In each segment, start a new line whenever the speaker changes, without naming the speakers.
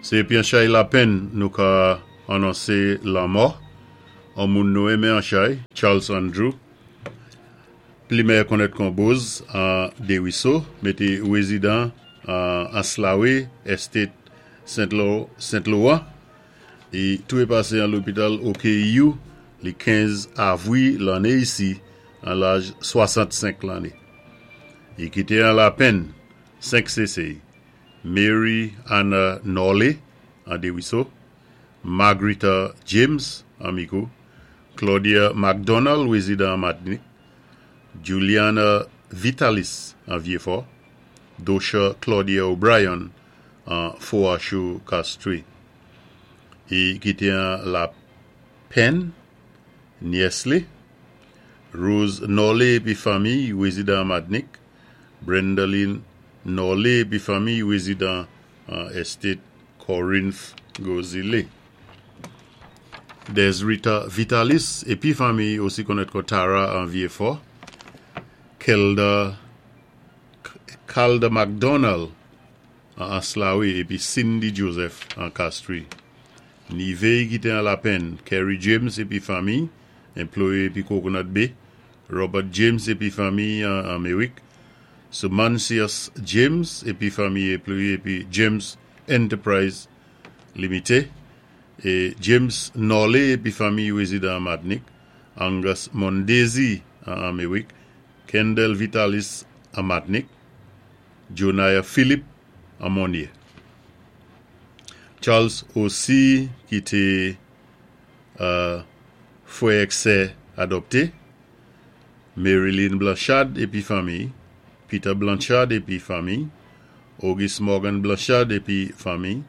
Sé épi an chay lapenn nou ka anonsé lanmò on moun nou enmen an chay, Charles Andrew, pli mèyè konnèt kon Boz an Dériso, mété wézidan an Anse-La-Raye Estate Sent Laurent. Li touwé pasé an lopital OKEU li 15 avwi lanné isi an laj 65 lanné. Li kité an lapenn 5 sésé, Mary Anna Norley an Dériso, Margarita James an Micoud, Claudia McDonald wézidan an Matnik, Juliana Vitalis an Vieux-Fort, Dosha Claudia O'Brien an Foachou Castries. I kité an lapenn nyès li, Rose Norley épi fanmiy wézidan an Matnik, Brendaline Norley épi fanmiy wézidan an Estate Corinth Gros-Islet. Desrita Vitalis épi fanmiy osi konnèt kon Tara an Vieux-Fort, Kelda Calda McDonald an Anse-La-Raye épi Cindy Joseph an Castries. Nivé kité an lapenn, Kerry James épi fanmiy, enployé épi Coconut Bay, Robert James épi fanmiy an Méwik, Sumancius James épi fanmiy enployé épi James Enterprise Limité, é James Norley épi fanmiy wézidan an Matnik, Angus Mondésir an Méwik, Kendall Vitalis an Matnik, Jonaya Philippe an Monnier. Charles osi kité fwè èk sè adòpté, Marilyn Blanchard épi fanmiy, Peter Blanchard épi fanmiy, Auguste Morgan Blanchard épi fanmiy,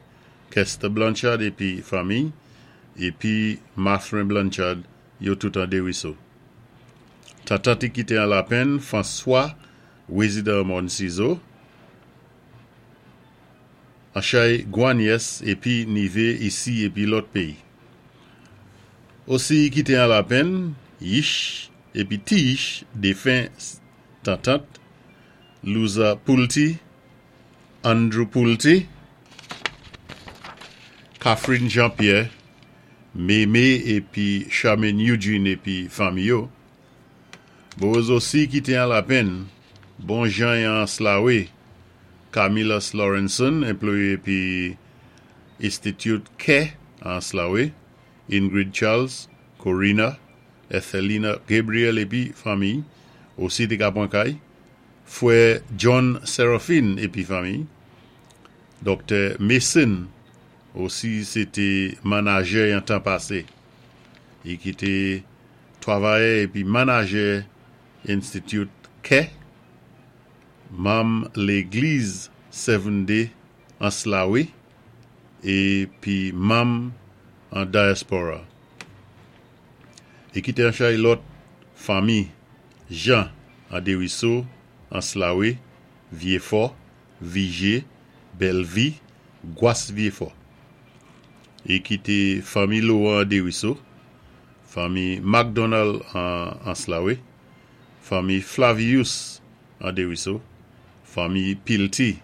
Kester Blanchard épi fanmiy, épi Mathurin Blanchard, yo tout an Dériso. Tantant i kité an lapenn, François, wézidan Mòn Sizo, an chay gwanyès épi nivé isi épi lòt péyi. Osi i kité an lapenn, Yich épi Ti Yich défen tantant, Louza Poulty, Andrew Poulty, Catherine Jean-Pierre, Mémé épi Charmaine Eugene épi fanmi yo. Boz osi kité an lapenn, Bon Jan an Anse-La-Raye, Camillus Lawrenson, enployé épi Institute Kè an Anse-La-Raye, Ingrid Charles, Corina, Ethelina Gabriel épi fanmiy, osi té ka pwan kay, Fwè John Seraphine épi fanmiy, Doktè Mason, osi sé té manajè yon tan pasé, i ki té twavayè épi manajè Institute Kè, manm légliz Seventh Day Anse-La-Raye épi manm an diaspora. I kité an chay lòt fanmi Jean an Dériso, Anse-La-Raye, Vieux-Fort, Viger, Bellevue, Gwas Vieux-Fort. I kité fanmi Laurent an Dériso, fanmi McDonald an Anse-La-Raye, fanmi Flavius an Dériso, fanmi Pilty,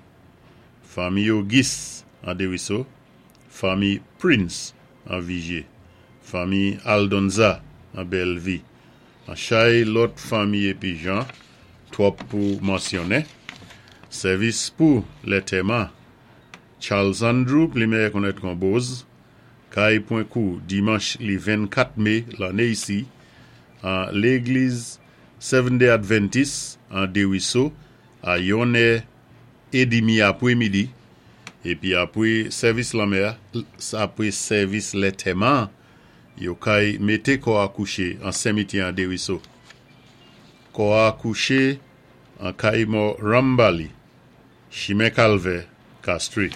fanmi Auguste an Dériso, fanmi Prince an Viger, fanmi Aldonza an Bellevue, an chay lòt fanmi épi jan, twòp pou mansyonnen. Sèvis pou lètèman Charles Andrew, pli mèyè konnèt kon Boz, kay pwan kou dimanch li 24 mé lanné isi an légliz Seventh Day Adventist an Dériso a yon è édmi apwé midi épi apwé sèvis lanmè a apwé sèvis lètèman yo kay mété kò a kouché an senmityè an Dériso. Kò a kouché an kay mò Rambali, chimen Kalvè, Castries.